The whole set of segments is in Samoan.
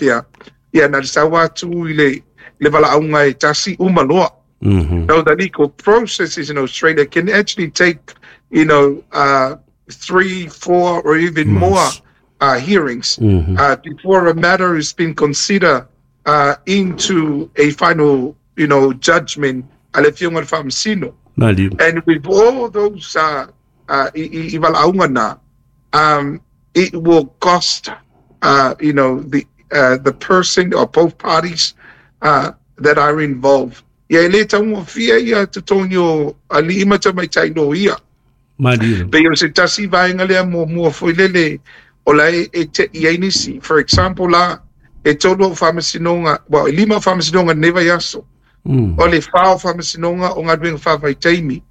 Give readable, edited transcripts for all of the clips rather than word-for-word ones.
faapea, ia na le sau atu i le valaauga e tasi uma loa. No, the legal processes in Australia can actually take, 3, 4 or even more hearings before a matter has been considered into a final, judgment a le Afioga i le Faamasino. And with all those i valaauga na, it will cost, the person or both parties that are involved. Ia e le taugofie ia totogi o alii ma tamaitai loia. Pei o se tasi vaega lea muamua foi lele o la e te'i ai nisi. For example la, e 3 au faamasinoga, well, e 5 au faamasinoga lenei vaiaso. O le 4 o faamasinoga o galuega faavaitaimi.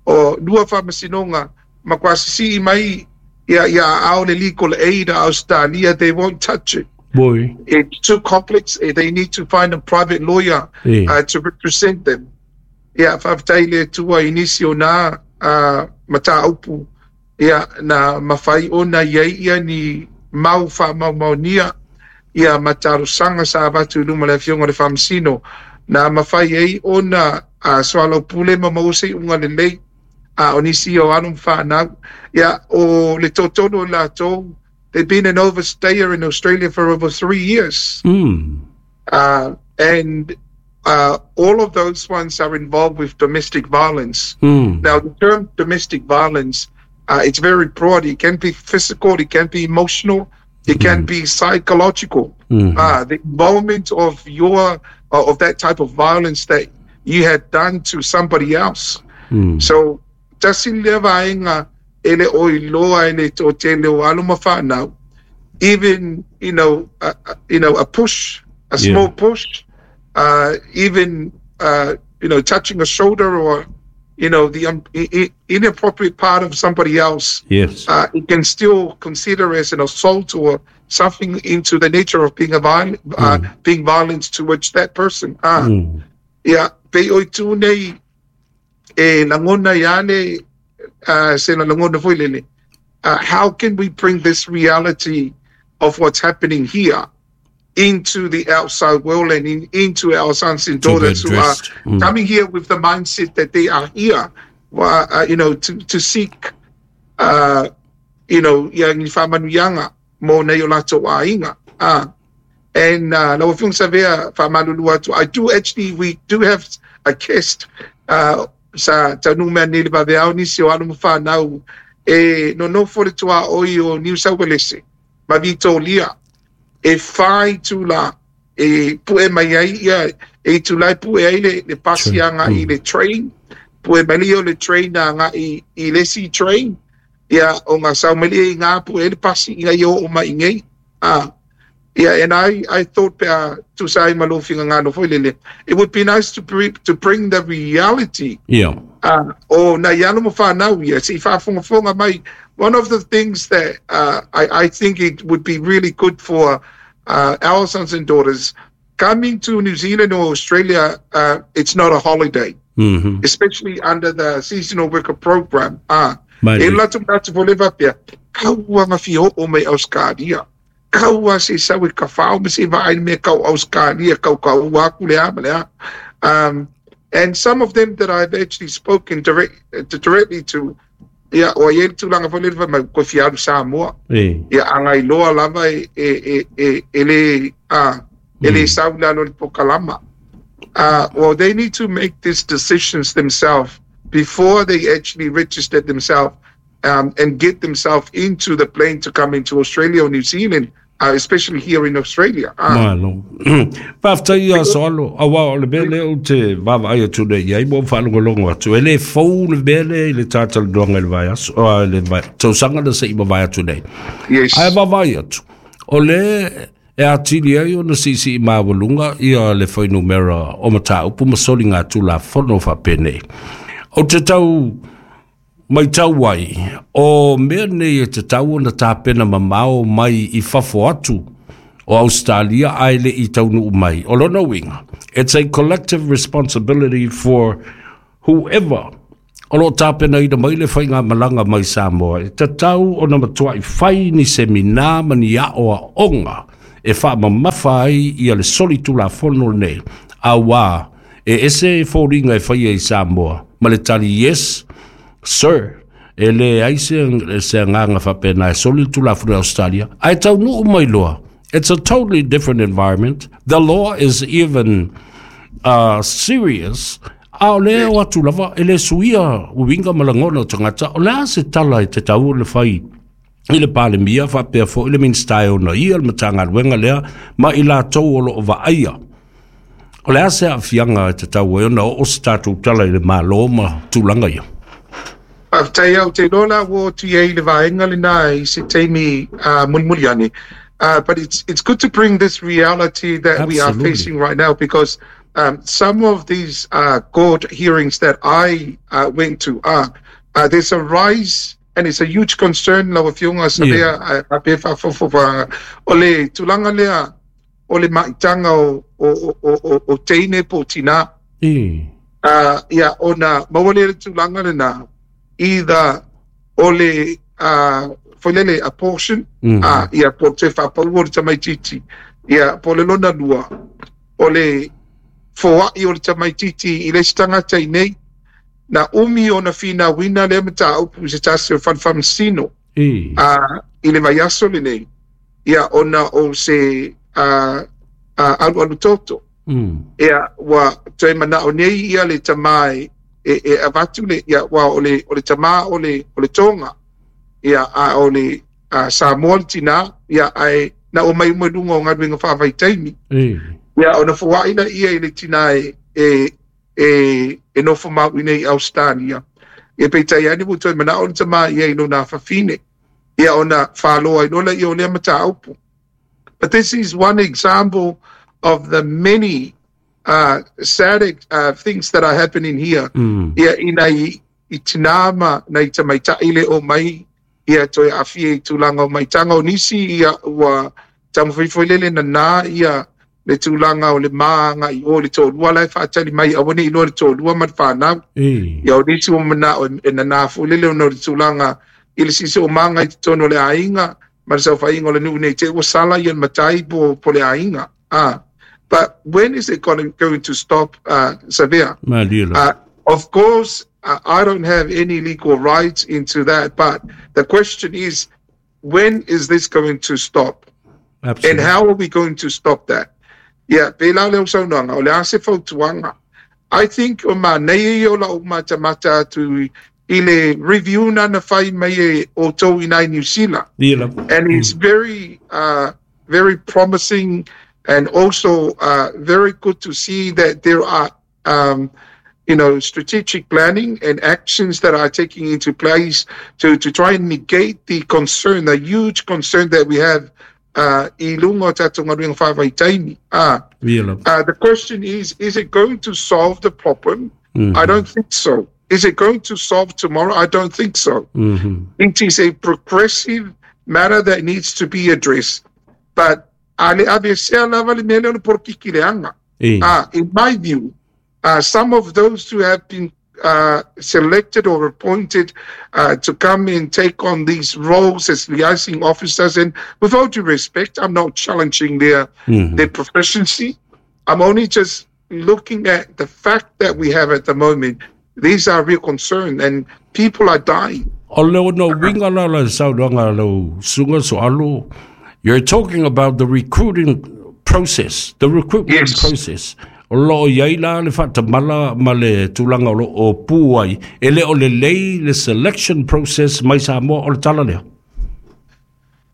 O 2 faamasinoga matua sisii mai ia aao le Legal Aid a Australia, they won't touch it. Boy. It's too complex. They need to find a private lawyer to represent them. Ia, faafetai le Atua i nisi o nā mataupu ia, na mafai ona i ai ia ni mau faamaumaunia ia ma talosaga sa avatu i luma le Afioga i le Faamasino, na mafai ai ona soalaupule ma maua se iuga lelei o nisi o alo ma fanau. Ia, o le toatolu o latou, they've been an overstayer in Australia for over 3 years. And all of those ones are involved with domestic violence. Now, the term domestic violence, it's very broad. It can be physical, it can be emotional, it can be psychological. The involvement of your of that type of violence that you had done to somebody else. So, tasi lea vaega e le o iloa e le toatele o alo ma fanau, even, a push, a small push, even, touching a shoulder or, the inappropriate part of somebody else. Yes. It can still consider as an assault or something into the nature of being a being violent towards that person. Ia, pei o itu nei e lagona ia le se la lagona foi lele. How can we bring this reality of what's happening here into the outside world and into our sons and daughters who are coming here with the mindset that they are here, to seek, ia ni whamanuianga mo nei o latou aiga. And lau Afioga Savea whamalulu atu, I do actually, we do have a guest, sa taunu mea nei le vaveao nisi o alo ma whanau e nonofo le tua oi o New South Wales ma Victoria e whai tula e pue mai ai ia e tula e pue ai le pasi anga i le train, pue mai le o le train anga i le si train ia o ngā sau mai le ngā pue le pasi i ngai o mai ngai. Yeah, and I thought to say malofinga ngano foi lele, it would be nice to bring the reality. Yeah. O na iano mo whanau ia, si whaafongafonga mai. One of the things that I think it would be really good for our sons and daughters coming to New Zealand or Australia, it's not a holiday, especially under the seasonal worker program. E latu ngāti fo le vapea, kauanga whio o mai Australia. Kaua se sau e ka whao me se vaai me kau Australia, kau kau aku le a, le a. And some of them that I've actually spoken directly to, ia, o ia tūlanga fo le mai ko whiaru Samoa. Ia, angai loa lava e le, e le sau lalo le pokalama. Well, they need to make these decisions themselves before they actually register themselves and get themselves into the plane to come into Australia or New Zealand, especially here in Australia. Malo. Whaftai ia soalo, awa o le mele o te wawa ai atu nei iai mo whalongolongo atu. E le fou le mele i le tātala nuanga le vai aso, le vai, tausanga na se ima vai atu nei. Yes. Ai wawa ai atu. O le e atili ai o na sisi i mawalunga ia le whainumera o mata upu masoli ngā tūla whono whapene. O te tau mai tau ai, o mea nei e te tau ona tāpena mamao mai i fafo atu o Australia ai le i taunu mai. O lona winga, it's a collective responsibility for whoever o lo tāpena ina mai le whai ngā malanga mai Samoa. E te tau ona matua i whai ni semina ma ni ao a onga e faamamafa ai ia le solitulafono lenei, auā e ese foliga e faia i Samoa ma le tali, "Yes sir," e leai se agaga faapena e soli le tulafono i Australia, ae taunuu mai loa, it's a totally different environment. The law is even serious, a o lea o atu lava e le suia uiga ma lagona o tagata. O le a se tala e tatau ona fai i le Palemia faapea foi le Minisita e ona ia le Matagaluega lea ma i latou o loo vaaia? O le a se aafiaga e tatau ai ona oo se tatou tala i le Malo ma tulaga ia? Faafetai. Au te iloa la ua atu i ai le vaega lena i se taimi mulimuli ane. But it's good to bring this reality that we are facing right now because some of these court hearings that I went to are there's a rise and it's a huge concern, lau Afioga Savea, a pe faafofoga o le tulaga lea o le maitaga o teine po o tinā. Ia, ona maua lea le tulaga lena, either o le foi lele abortion, ia, po o te faapau o le tamaitiiti, ia, po o le lona lua o le foai o le tamaitiiti i le isi tagata i nei. Na umi ona finauina lea mataupu i se tasi o fale faamasino i le vaiaso lenei, ia, ona o se alualu toto. Ia, ua toe manao nei ia le tamā e avatu le, ia, ua o le tamā o le Toga, ia, a o le Samoa le tinā, ia, ae na o mai uma i luga o galuega faavaitaimi. Ia, ona foai la ia i le tinā e nofo mau i nei Australia. Ia, peitai ane ua toe manao le tamā ia i lona afafine. Ia, ona faaloa ai loa lea o lea mataupu. But this is one example of the many sad things that are happening here. Ia, ina i tinā ma nai tamaitai le o mai, ia, toe afia i tulaga o maitaga o nisi, ia, ua taumafai foi lele nanā ia le tulaga o le maga i o le toalua la e faatali mai, aua ne i iloa le toalua ma le fanau. Ia, o nisi ua manao e nanā foi lele ona o le tulaga i le siosiomaga i totonu o le aiga ma le saofaiga o le nuu nei te ua sala ia le matai po le aiga. But when is it going to stop, Savea? Malie la. Of course, I don't have any legal rights into that, but the question is, when is this going to stop? Absolutely. And how are we going to stop that? Yeah, pe la leo saunoaga, o le a se fautuaga? I think o manei ia o lau matamata atu i le review na fai mai e o tou i nai New Zealand. Ia la. And it's very promising and also very good to see that there are strategic planning and actions that are taking into place to try and negate the concern, the huge concern that we have i lunga o tatou galuega faavaitaimi. Ia la. The question is it going to solve the problem? I don't think so. Is it going to solve tomorrow? I don't think so. It is a progressive matter that needs to be addressed. But ale avesea lava le mea lea o le polokiki leaga. In my view, some of those who have been selected or appointed to come and take on these roles as liaising officers, and with all due respect, I'm not challenging their proficiency. I'm only just looking at the fact that we have at the moment. These are real concern, and people are dying. O le ona uiga la la saunoaga lau susuga Soalo, you're talking about the recruiting process, the recruitment process. O loo i ai la le faatamala ma le tulaga o loo pu ai, e le o lelei le selection process mai Samoa, o le tala lea.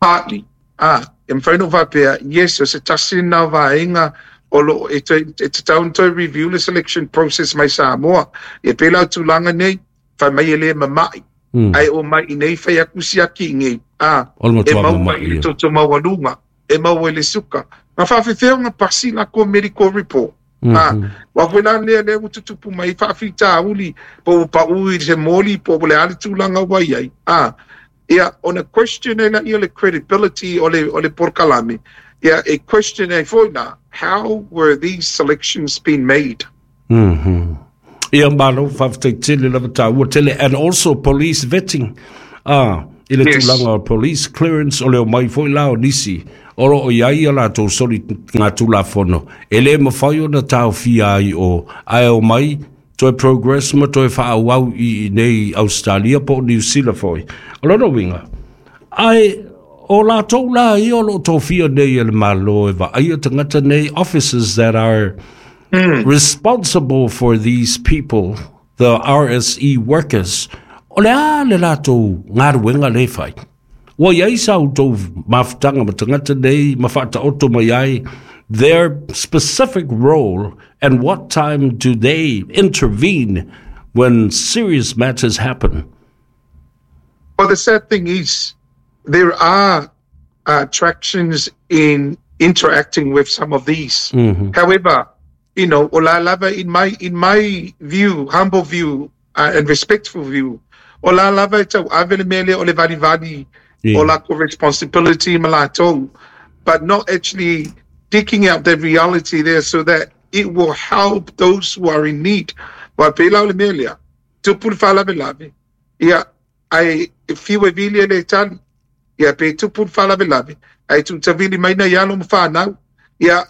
Partly. E mawhai no faapea, yes, o se tasi na vaega o lo e te tau toe review le selection process mai Samoa. E pēlā tulaga nei, fai mai e le mamai. Ai o mai i nei fai aku siaki i ngei. O le E matua maua mamai i le ia. toto maualuga, e maua i le suka. Ma faafefea ona pasi la ko medical report? Wa koe la lea lea ua tutupu mai faafitauli po ua pau i se moli po o le a le tulaga ua i ai. Ia, ona question ai laia le credibility o le polokalame. Ia, e question ai foi la, how were these selections being made? Ia, malo, faafetai tele lava, taua tele, and also police vetting. I le tulaga o police clearance o le omai foi la o nisi o lo o i ai a latou soligatulafono e le mafai ona taofia ai o ae omai toe progress ma toe faaauau i inei i Ausetalia po o Niu Sila foi. O lona uiga, ae o latou la ia o lo o tofia nei e le Malo e vaaia tagata nei, officers that are responsible for these people, the RSE workers, o le a le latou galuega lea e fai? Ua i ai sa outou mafutaga ma tagata nei ma faataoto mai ai their specific role and what time do they intervene when serious matters happen? Well, the sad thing is there are attractions in interacting with some of these. However, you know, o la lava in my view, humble view and respectful view, o la lava e tau ave le mea lea o le valivali o lakou responsibility ma latou, but not actually digging out the reality there so that it will help those who are in need. Wa pe la o le mea lea, tupu le faalavelave, ia, ai e fiu e vili e le tali, ia pe tupu le faalavelave, ai tuutavili mai na i alo ma whanau, ia,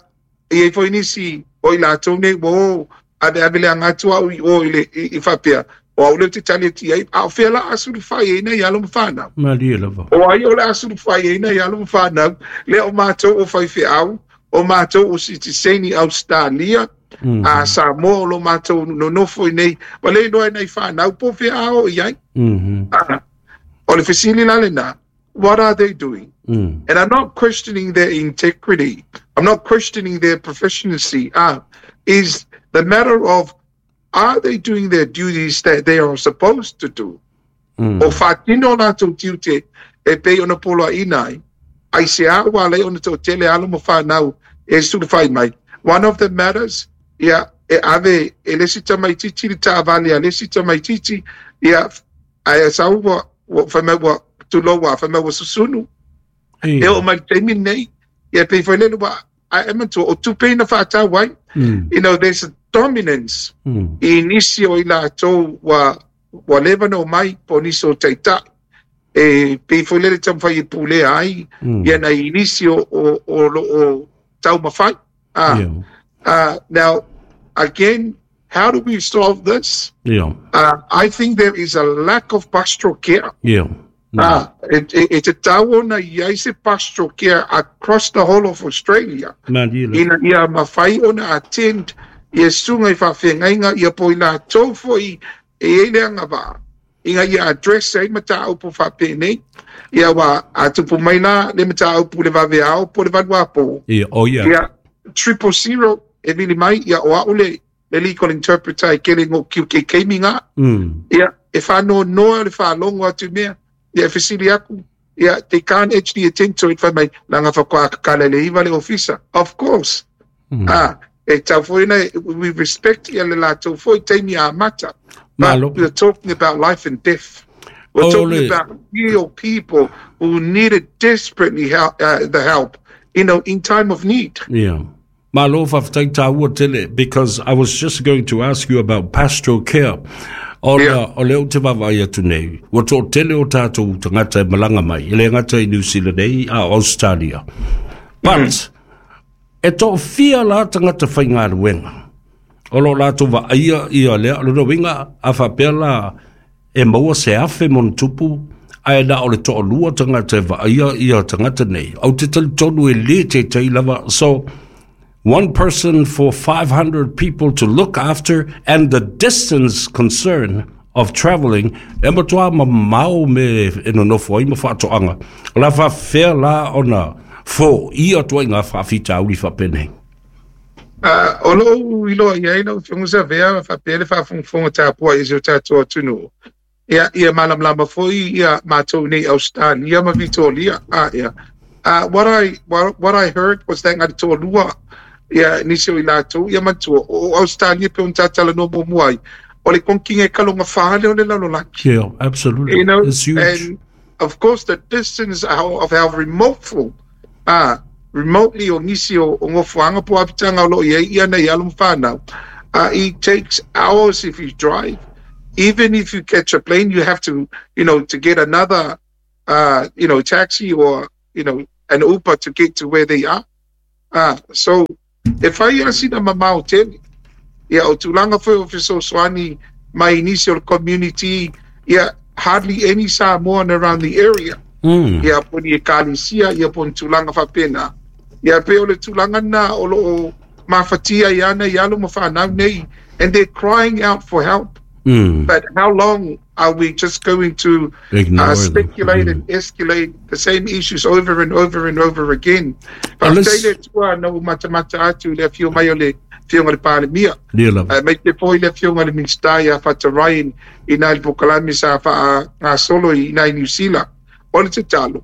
i ai foi nisi o i latou nei ua o ave ave le aga atu au i o i le i faapea o au lea ou te tali atu i ai, a o fea la a sulufai ai nai alo ma fanau? Malie lava. O ai o le a sulufai ai nai alo ma fanau? Lea o matou o faifeau, o matou o sitiseni Ausetalia, a Samoa o lo matou nonofo i nei, ua le iloa e nai fanau po o fea a o i ai. O le fesili la lena, what are they doing? And I'm not questioning their integrity. I'm not questioning their proficiency. Is the matter of are they doing their duties that they are supposed to do? O faatino latou tiute e pei ona poloaiina ai. Ai se a ua ala ai ona toatele alo ma fanau e sulufai mai. One of the matters, ia, e ave e le isi tamaitiiti le taavale a le isi tamaitiiti, ia, ae sau ua fai mai ua tulou ua fai mai ua susunu. E oo mai le taimi lenei, ia pei foi lele ua ae manatua o tupe ina faatau ai. There's a dominance i nisi o i latou ua leva ona omai po o nisi o taitai e pei foi lele taumafai e pulea ai ia nai nisi o lo o taumafai. Now, again, how do we solve this? I think there is a lack of pastoral care. E tatau ona i ai se pastoral care across the whole of Australia. Malie lava. Ina ia mafai ona attend ia susuga i faafeagaiga ia po i latou foi e i ai le agavaa. Ina ia address ai mataupu faapenei. Ia ua a tupu mai la le mataupu le vaveao po le valuapo. Ia, oh yeah. Ia, 000 e vili mai, ia o au le legal interpreter e kele ngo kiu ke keimi ngā. Ia, e whanonoa le whalongo atu mea. Ia, e fesili aku. Ia, they can't actually attend to it fai mai, langa whakoa kakala le iwa le officer. Of course. E tau foi na, we respect ia le latou foi taimi a mata. But Malo. we're talking about life and death. We're Oh, talking about real people who needed desperately help, the help in time of need. Yeah. Malo faafetai tāua tele, because I was just going to ask you about pastoral care. Ona o lea ou te vaavaai atu nei, ua toatele o tatou tagata e malaga mai, e le gata i New Zealand nei a o Australia. But, e toafia la tagata faigaluega o lo o latou vaaia ia lea, o lona uiga a faapea la e maua se afe ma ona tupu, ae na o le toalua tagata e vaaia ia tagata nei. Ou te talitonu e le taitai lava, so one person for 500 people to look after and the distance concern of travelling, e matua mamao me e nonofo ai ma faatoaga. O le a faafefea la ona foia ituaiga faafitauli faapenei? O lou iloa i ai lau Afioga Savea faapea le faafogafoga tapuai i si o tatou atunuu. Ia, ia malamalama foi ia matou nei Australia ma Vitoria. Ia. What I heard was that ngā toalua ia nisi o i latou ia matua o Australia pe ona tatalanoa muamua ai. O le konkinga e kalonga whale o le lalolagi. Yeah, absolutely. It's huge. And of course the distance of how remote remotely o nisi o ngofuanga po apitanga o lo i ai ia nei alo ma whanau. It takes hours if you drive. Even if you catch a plane, you have to get another taxi or, an Uber to get to where they are. So, e fai a sina mamao tele. Ia, o tulaga foi o fesoasoani mai nisi o le community, ia, hardly any Samoan around the area. Ia, po ni ekalesia, ia po ni tulaga faapena. Ia, pe o le tulaga na o loo mafatia i ana i alo ma whanau nei, and they're crying out for help. But how long are we just going to speculate and escalate the same issues over and over and over again? Faafetai le Atua na ua matamata atu le afio mai o le Afioga i le Palemia. Mai te foi le Afioga i le Minisita ia Fata Ryan i nai le polokalame sa faagasolo i nai Niu Sila. O le tatalo,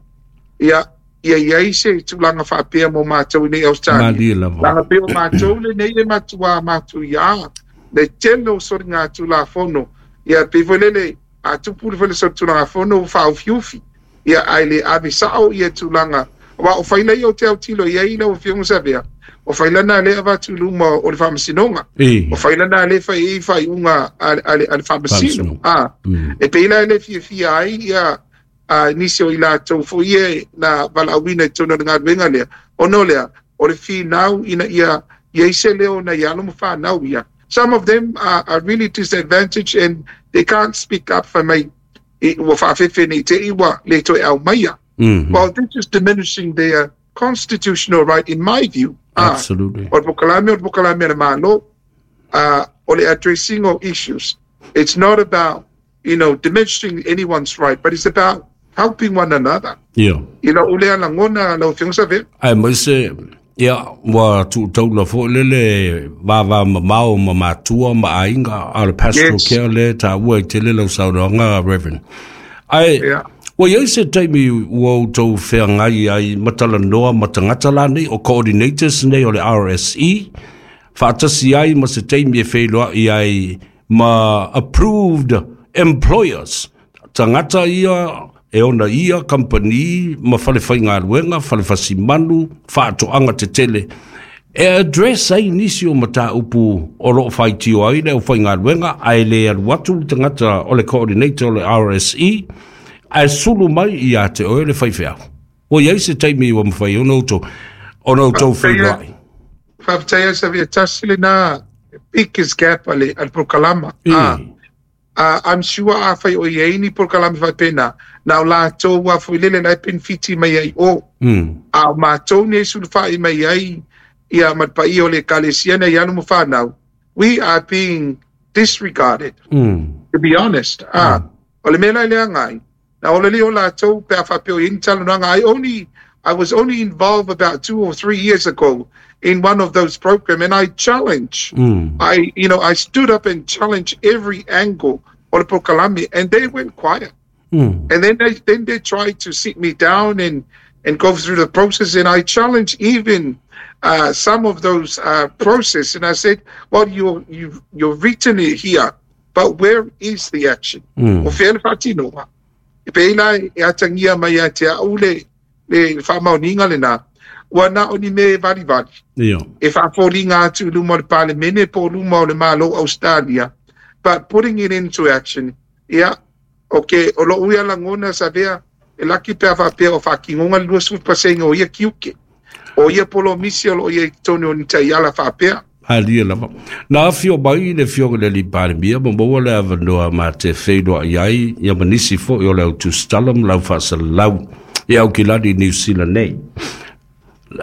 ia ia i ai se tulaga faapea mo matou i nei Australia. Leaga pei o matou lenei e matuā matuia le tele o soligatulafono. Ia pei foi lele a tupu le foi le solitulafono ua faaufiufi. Ia ae le ave sao ia tulaga. Aua o faila ia o te autilo i ai lau Afioga Savea, o faila na lea avatu i luma o le Faamasinoga. O faila na lea fai ai faaiuga a le Faamasino. E pei la e le fiafia ai ia nisi o i latou foi e na valaauina i totonu o le galuega lea. Ona o lea, o le finau ina ia i ai se leo na i alo ma whanau ia. Some of them are really disadvantaged and they can't speak up for mai ua whaafefe nei te iwa le toe au maia. Well, this is diminishing their constitutional right in my view. Absolutely. O le pokalame le malo, o le addressing of issues. It's not about, diminishing anyone's right, but it's about helping one another. Yeah. Ule alangona lau Afioga Savea. Ai mai se, ia, ua tuutaula foi lele vava mamao ma matua ma aiga a le pastoral care le taua i tele lau saunoaga, Reverend. Ai, ua iai se taimi ua outou feagai ai matalanoa ma tagata la nei o coordinators nei o le RSE, faatasi ai ma se taimi e feiloai ai ma approved employers, tagata ia e ona ia company ma fale whaingaluenga, fale fasimanu, whaatoanga te tele. E address ai nisi o mataupu o loo whaitio ai le o whaingaluenga, ai le alu atu le tagata o le coordinator o le RSE, ai sulu mai i a te oe le whaiwheau. O iai se taimi ua mawhai ona outou whailoai. Whawhitaia sa via tasi le nā biggest gap a le prokalama. I'm sure a whai o iei ni polokalame whaipena, nā o lātou a fui lele lai penfiti mai ai o. A o mātou nei sulufai mai ai ia matpai o le ekalesia nei alo ma whanau. We are being disregarded, to be honest. O le mea lai lea ngai. Nā o le leo lātou pe a whapeo i ni talanoaga. I was only involved about 2 or 3 years ago in one of those programs, and I challenge. I stood up and challenged every angle o le polokalame, and they went quiet. And then they tried to sit me down and go through the process, and I challenged even some of those process, and I said, well, you've written it here, but where is the action? O whea le whaatinoa. E peila e atangia mai a te au le whaamaoninga le nā. Ua na o ni me vali vali. E whaaforinga atu luma o le palemene po luma o le malo Australia. But putting it into action, ia, okay, o lo uia langona savea, e laki pea whaapea o whaakingonga le 20% o ia kiuke. O ia polo misi o lo ia i tonu o ni taiala whaapea. Alia lava. Nā whio mai le whio le li palemia, ma maua le awanoa mā te whenua i ai, ia manisi fo i o le au tūstalam, lau whaasalau, i au kilani New Zealand nei.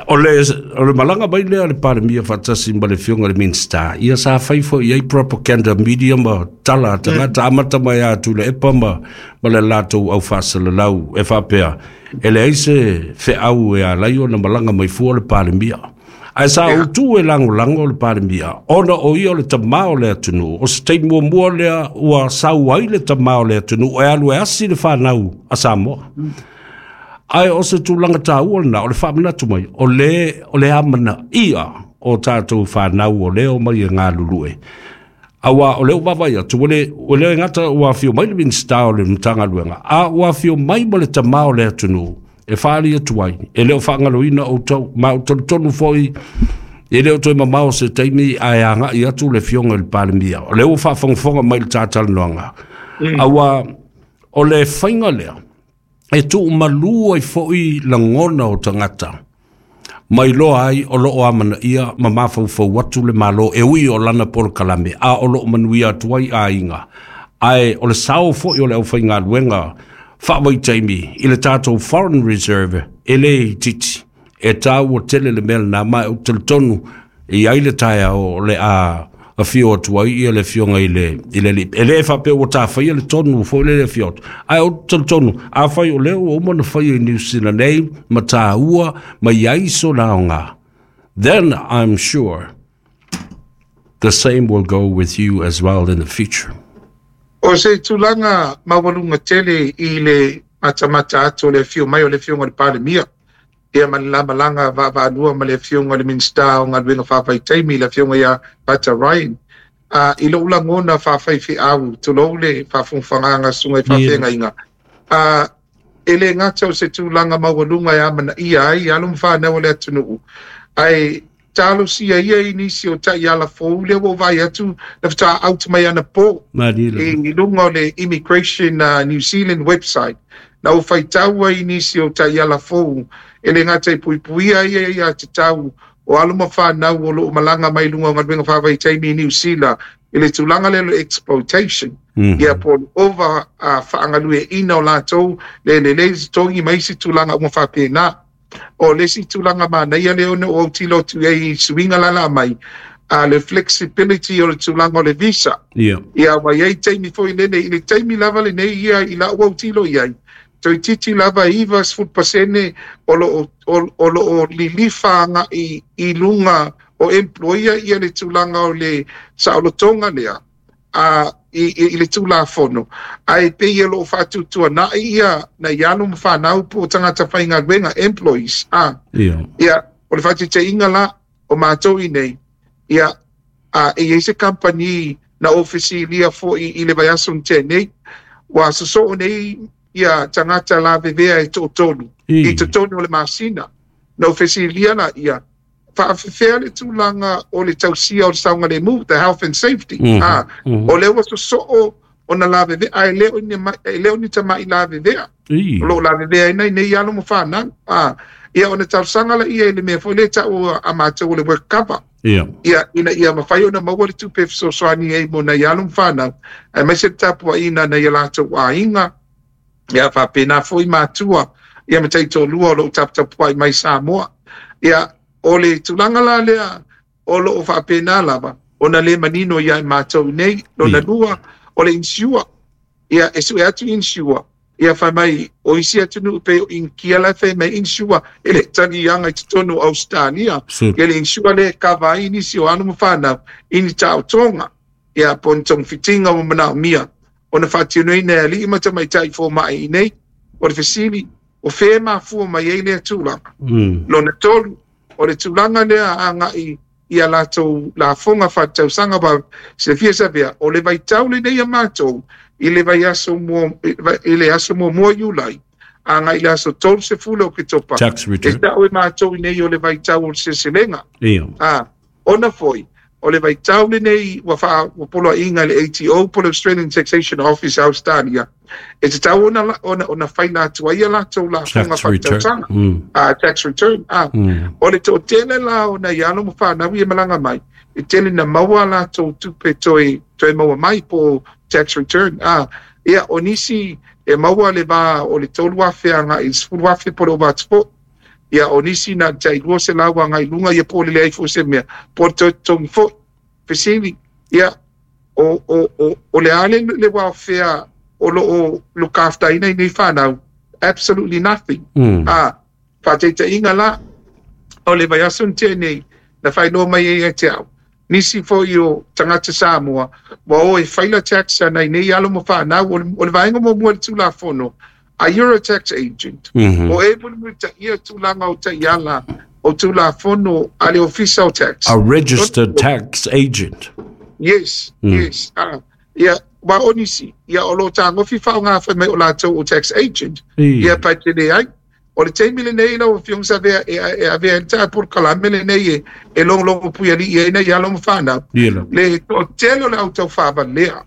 O le malanga mai lea le palemia whaatasi ma le whionga le Minista, ia sa whaifo i ai propaganda media ma tala tangata amata mai atu le epa ma le lātou au whaasalalau e whapea. E le aise wheau e alai o na malanga mai fua le palemia. Ai sa utu e lango lango le palemia. Ona o ia o le tamao le atunu. O se teimua mua lea ua sau ai le tamao le atunu. E alu e asi le whanau a Samoa. Ai o se tūlanga tāua na, o le whaamanatu mai, o le amana ia o tātou whanau o leo mai e ngā lulue. Aua o leo vavai atu, o leo e ngata ua whio mai le Minista o le Mtangaluenga, a ua whio mai mo le tamao le atunu, e whaali atu ai, e leo whaangaloina o tau, ma o tonu foi, e leo toe mamao se teimi a e anga i atu le whionga le palemia. O leo whaafongafonga mai le tātalanoanga. Aua o le whainga lea, E tuumalū ai foʻi lagona o tagata ma iloa ai o loo amanaia ma mafaufau atu le Malo e ui o lana polokalame a o loo manuia atu ai aiga, ae o le sao foʻi o le aufaigaluega faavaitaimi i le tatou foreign reserve e lē itiiti e tāua tele le mea lenā. Ma ou te talitonu e i ai le taeao o le a afio atu ai ia le afioga i le alii e lē faapea ua tafaia le tonu foi le afio atu, ae ou te talitonu afai o lea ua uma ona faia i Niu Sila nei ma tāua ma i ai sona aoga, then I'm sure the same will go with you as well in the future. O se tulaga maualuga tele i le matamata atu o le afio mai o le afioga o le Palemia ia ma le lamalaga vaavaalua ma le afioga o le Minisita o Galuega Faavaitaimi, le afioga ia Pata Ryan. I lou lagona faafaifeau, tulou le faafogafagaga susuga i faafeagaiga, e le gata o se tulaga maualuga e amanaia ai alo ma fanau o le atunuu, ae talosia ia i nisi o taiala fou lea ua ou vaai atu na faatoa out mai anapo i luga o le Immigration New Zealand website. Na ou faitau ai i nisi o taiala fou e le gata i puipuia ia ia te tau o alo ma fanau o loo malaga mai luga o galuega faavaitaimi i Niu Sila i le tulaga lea o le exploitation ia po o le ova faagalueina o latou le lelei totogi ma isi tulaga uma faapena. O le isi tulaga manaia lea ona ou autilo atu i ai i suiga lala mai a le flexibility o le tulaga o le visa. Ia ua i ai taimi foi lele i le taimi lava lenei ia i lau autilo i ai toeitiiti lava 90% o loo lilifa agai i luga o employer ia le tulaga o le saolotoga lea a i le Tulafono, ae pei o loo faatuatuanai ia nai alo ma fanau po o tagata faigaluega, employees a. Ia o le faataitaiga la o matou i nei ia a e i ai se kamupani na ofisilia foi i le vaiaso na tea nei ua sosoo nei ia tagata lavevea e toatolu i totonu o le masina. Na ofisilia la ia faafefea le tulaga o le tausia o le saogalemu, the health and safety, a o lea ua sosoo ona lavevea ae le o ni tamai lavevea o loo lavevea ai nai nei alo ma fanau a. Ia ona talosaga la ia i le mea foi lea tau a matou o le work cover ia ina ia mafai ona maua le tupe fesoasoani ai mo nai alo ma fanau aemaise le tapuaiga nai a latou aiga ia faapena foi matua ia ma taitolua o loo taputapuai mai Samoa. Ia o le tulaga la lea o loo faapena lava ona le manino ia i matou nei. Lona lua o le insure, ia e sue atu insure ia fai mai o isi atunuu pei o Inikia la e fai mai insure e le taliaga i totonu o Australia. Ia le insure lea e kava ai nisi o alo ma fanau i ni taotoga ia po o ni togafitiga ua manaomia ona faatinoina e alii ma tamaitai fomai i nei. O le fesili, o fea e mafua mai ai lea tulaga? Lona tolu o le tulaga lea agai ia latou lafoga faaletausaga wa silafia Savea o le vaitau lenei a matou i le vaiaso mua, i le aso muamua Iulai agai i le aso 30 o Oketopa. Tax E return. Tau e matou i nei o le vaitau o le seleselega. A ona foi o le vaitau lenei ua ua poloaiga i le ATO po le Australian Taxation Office Australia e tatau ona faila atu ai ia latou lafoga Tax return. faaletausaga, tax return a. O le toatele la o nai alo ma fanau ia malaga mai e tele na maua latou tupe toe maua mai po tax return a. Ia o nisi e maua le va o le 3,000 agai i le 10,000 po le ova atu foi. Ia o nisi na tai 200 agai i luga ia po o le leai foi se mea po o le toe totogi foi. Fesili ia o le a le welfare o loo look after ina i nei fanau? Absolutely nothing. A faataitaiga la o le vaiaso na tea nei na faailoa mai ai ia te au nisi foi o tagata Samoa ua o e faila tax a nai nei alo ma fanau. O le vaega muamua i le Tulafono a, you're a tax agent o e mulimulitaia tulaga o taiala o Tulafono a le ofisa o tax. A registered tax agent. Yes. Yes. Ia wa o nisi ia o lo tagofi faaaoga fai mai o latou o tax agent. Ia pa te leai o le taimi lenei lau afioga Savea e avea ai le polokalame lenei e logologo puialii ai nai alo ma fanau Ia la. le toatele o le au taufavalea.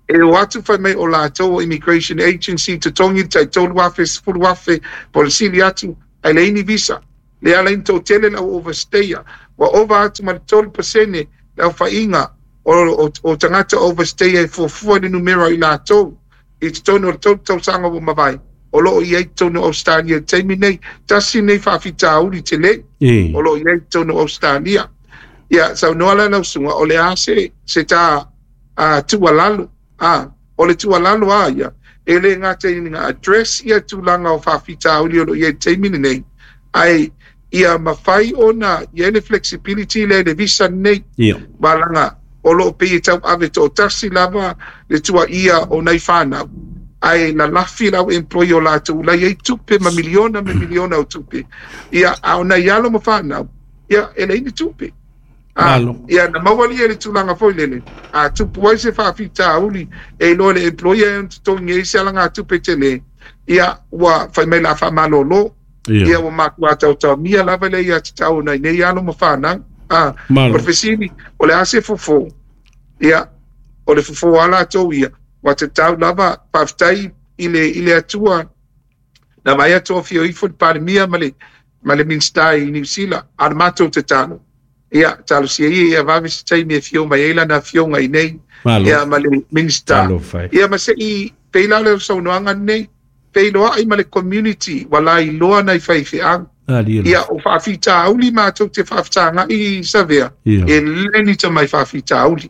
E o atu fai mai o latou o immigration agency, totogi le tai 3,000, 10,000 po o le sili atu, ae leai ni visa. Le ala i ni toatele le au overstayer. Ua ova atu ma le 3% le aofaiga o tagata overstayer e fuafua i le numera o i latou i totonu o le 3 tausaga ua mavae o lo o i ai i totonu o Ausetalia i le taimi nei. Tasi lenei faafitauli tele o lo o i ai i totonu o Ausetalia. Ia, saunoa la lau susuga, o le a se ta tuualalo? O le tuualalo a ia, e le gata ina address ia tulaga o faafitauli o lo o i ai i le taimi lenei, ae ia mafai ona i ai le flexibility lea i le visa lenei. Malaga o lo o pei e tauave toatasi lava le tuaia o nai fanau, ae lalafi le au employer o latou la i ai tupe ma miliona ma miliona o tupe. Ia, a o nai alo ma fanau, ia, e leai ni tupe. Ia, na maua lia le tulaga foi lele, a tupu ai se faafitauli e iloa le employer e ona totogi ai se alagatupe tele, ia, ua fai mai la faamalolo. Ia, ua matua taotaomia lava le ia tatau o nai nei alo ma fanau. O le fesili, o le a se fofo? Ia, o le fofo a latou ia, ua tatau lava, faafetai i le Atua, na vaai atu o afio ifo le Palemia ma le Minisita i Niu Sila, a o le matou tatalo, ia, talosia ia ia vave se taimi e afio mai ai lana afioga i nei, ia, ma le Minisita. Ia, ma se i pei la le saunoaga nei, feiloai ma le community, ua lailoa nai faifeau. Ia, o faafitauli matou te faafesagai i Savea, e le ni tamai faafitauli.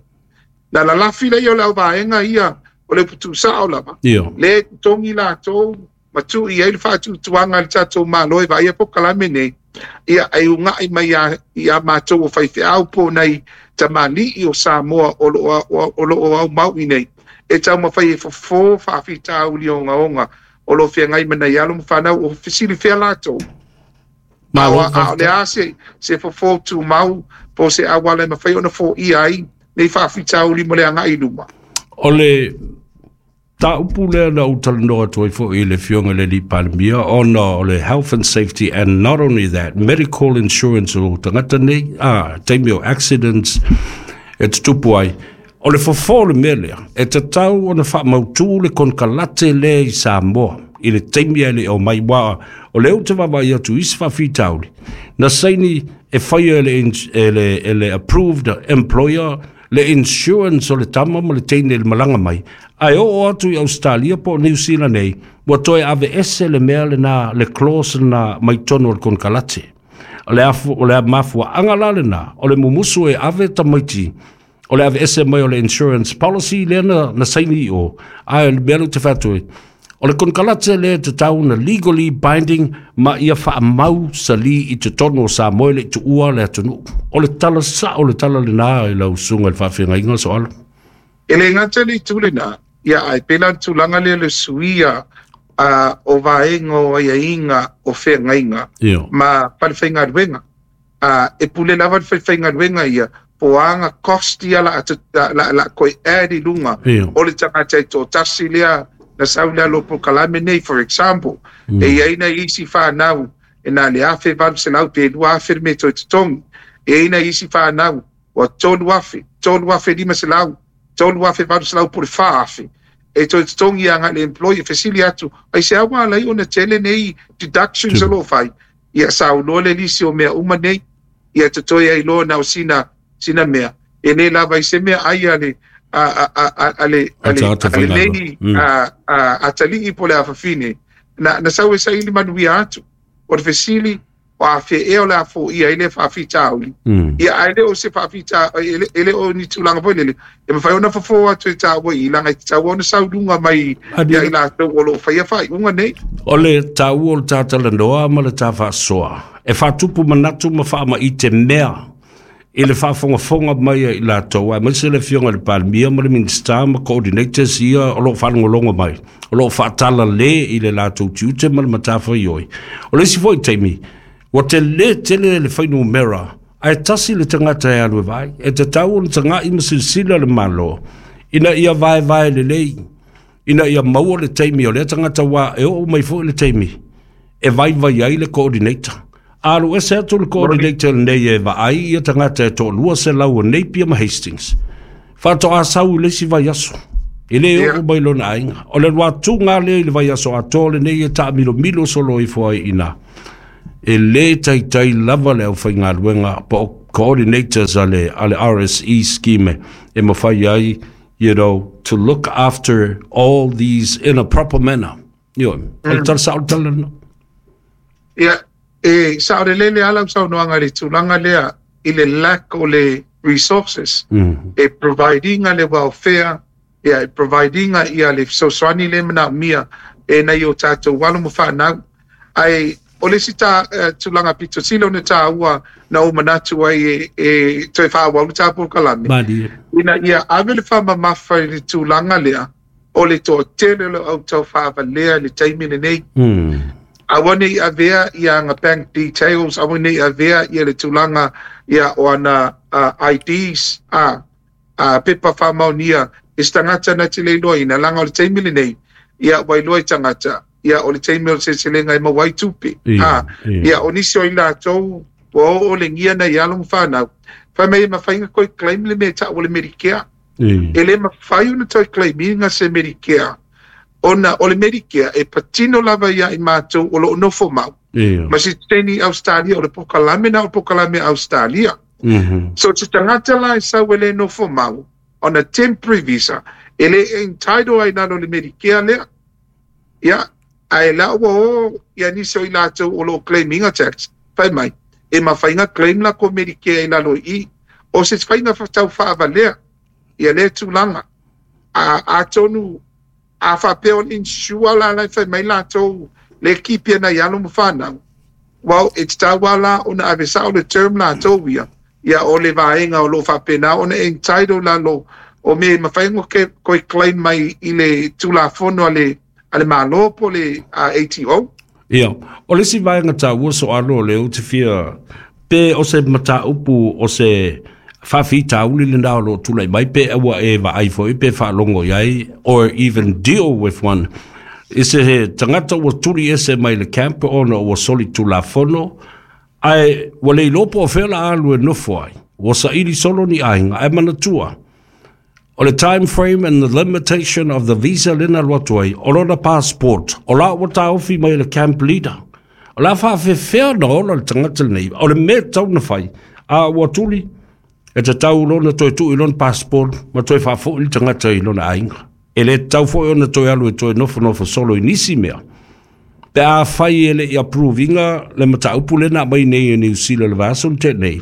Na lalafi lea o le auvaega ia, o le upu tuusao lava, le totogi latou, ma tuu i ai le faatuatuaga a le tatou Malo e vaaia polokalame nei, ia, ai ugai mai ia matou o faifeau po o nai tamalii o Samoa o lo o aumau i nei, e taumafai e fofo faafitauli ogaoga o lo o feagai ma nai alo ma fanau o fesili fea latou. A o le a se fofo tumau po o se auala e mafai ona foia ai nei faafitauli mo le agai i luma. O le taupu lea na ou talanoa atu ai foi i le afioga i le alii Palemia, ona o le health and safety and not only that, medical insurance o tagata nei, taimi o accidents e tutupu ai. O le fofo o le mea lea, e tatau ona faamautu le konekarate lea i Samoa i le taimi e le o mai, wa o le ou te vaavaai atu i isi faafitauli, na saini e faia e le approved employer le insurance o le tama ma le teine i le malaga mai, ae oo atu i Australia po o New Zealand nei, ua toe ave ese le mea lena, le clause lena mai totonu o le konekarate. O le mafuaaga la lena, o le mumusu e ave tamaiti, o le ave ese mai o le insurance policy lea na saini i o, ae le mea lea ou te fai atu ai, o le konekarate lea e tatau na legally binding ma ia faamau sali i totonu o Samoa e le i tuua le atunuu. O le tala sao le tala lena i lau susuga i le faafeagaiga Soalo. E le gata le itu lena, ia ae pei la le tulaga lea le suia o vaega o aiaiga o feagaiga ma falefaigaluega. E pule lava le falefaigaluega ia, po o aga cost ia la koe add i lunga o le tagata e toatasi lea na sau le alo polokalame nei, for example. E i ai nai isi whanau e nā le 1,800 pe 2,000 le mea toe totogi. E i ai nai isi whanau ua 3,000, 3,500, 3,800 po le 4,000. E toe totogi ia ngai le employee fesili atu, ai se awa alai ona tele nei deductions o lo fai. Ia saunoa le lisi o mea uma nei, ia totoe ai loa na o sina mea. E le lava i se mea ai a le nei atalii po le afafine. Na sau e saili manuia atu. O le fesili, o a fe e o le afo ia i le faafitauli. Ia ae le o se faafita, e le o ni tulaga foi lele. E mafai ona fofo atu e tāua i langa i te taua ona saulunga mai ia i latou o lo o faia faaiuga nei. O le tāua o le tātalanoa ma le tāwhaasoa. E whātupu manatu ma whaama i te mea i le whaafongafonga mai i latou. Ae maise le afioga i le Palemia ma le Minista ma coordinators ia o lo o faalogologo mai. O lo o faatala le i le latou tiute ma le matafaioi. O le isi foi taimi, ua te le tele le whainumera, ae tasi le tagata e alu e vai, e te tau ona tagai ma silasila le Malo, ina ia vaevae lelei, ina ia maua le taimi o lea tagata wā e oo mai foi le taimi, e vaivai ai le coordinator. Alu ese atu le coordinator nei e vaai ia tagata e toalua selau o Napier ma Hastings. Whātoa sau i le isi vai aso. E le oo mai lona aiga. O le alu atuga lea i le vaiaso atoa lenei e taamilomilo solo ifo ai i ina. E le taitai lava le aufaigaluega po o coordinators a le, a le RSE scheme e mafai ai, you know, to look after all these in a proper manner. Ioe, o le tala sao le tala lena. Ia, e saolelele lava lau saunoaga i le tulaga lea i le lack o le resources e provide ina le welfare, ia e provide ina ia le fesoasoani lea e manaomia e nai o tatou alo ma fanau. Ae o le isi ta, tulaga pito sili ona taua na ou manatu ai e, e toe faaauau le ta polokalame, Malie. ina ia ave le faamamafa i le tulaga lea o le toatele o le au taufaavalea i le taimi lenei. Aua ne i avea ia ana bank details, aua ne i avea ia le tulaga ia o ana IDs, a, a pepa faamaonia i se tagata na te le iloaina, leaga o le taimi lenei, ia ua iloa i tagata, ia o le taimi o le seleselega e maua ai tupe. A, ia o nisi o i latou ua oo olegia nai alo ma fanau, fai mai e mafai ona toe claim le mea e tau o le Medicare. E le mafai ona toe claim ina se Medicare, ona o le Medicare e patino lava ia i matou o lo o nofo mau. Ma sitiseni i Ausetalia, o le polokalame na o le polokalame a Ausetalia. So se tagata la e sau e le nofo mau on a temporary visa, e le entitle ai lalo le Medicare lea. Ia, ae la ua o ia nisi o i latou o lo o claim ina tax, fai mai, e mafai ona claim latou Medicare i lalo i i. O se faiga tau faavalea ia lea tulaga. A, atonu a faapea o le insure la la e fai mai latou le keep nai alo ma fanau, well, e tatau lava la ona ave sao le term latou ia, ia o le vaega o lo o faapena ona entitle lalo o mea e mafai ona toe claim mai i le Tulafono a le, a le Malo po o le ATO. Ia, o le isi vaega taua soalo o lea ou te fia, pe o se mataupu o se faafitauli lena o lo o tulai mai, pe ua e vaai foi pe faalogo i ai, or even deal with one, i se tagata ua tuli ese mai le camp ona ua soli tulafono, ae ua le iloa po o fea la alu e nofo ai, ua saili solo ni aiga, ae manatua, o le time frame and the limitation of the visa lena alu atu ai, o lona passport, o la ua taofi mai e le camp leader. O le a faafefea ona ola le tagata lenei, o le mea e tatau ona fai, a ua tuli, e tatau lona toe tuu i lona passport ma toe faafoi le tagata i lona aiga. E le tatau foi ona toe alu e toe nofonofo solo i nisi mea. Pe a fai e le i approve ina le mataupu lea na aumai nei e Niu Sila i le vaiaso na tea nei,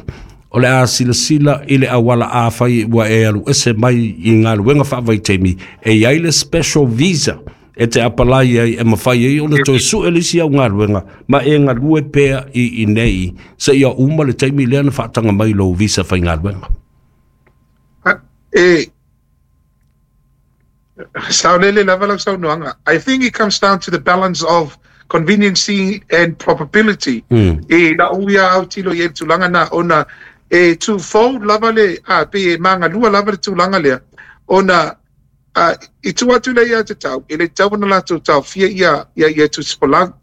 o le a silasila i le auala a fai ua e alu ese mai i galuega faavaitaimi, e i ai le special visa e te apalai ai e mafai ai ona toe sue le isi au galuega ma e galue pea i inei seia uma le taimi lea na faataga mai lou visa faigaluega. E saolele lava lau saunoaga. I think it comes down to the balance of conveniency and probability. I lau ia autilo i ai le tulaga na ona e twofold lava le, a, pei e magalua lava le tulaga lea, ona a, i tua atu lea ia te tau, e le tatau ona latou taofia ia, ia, ia tusifolau.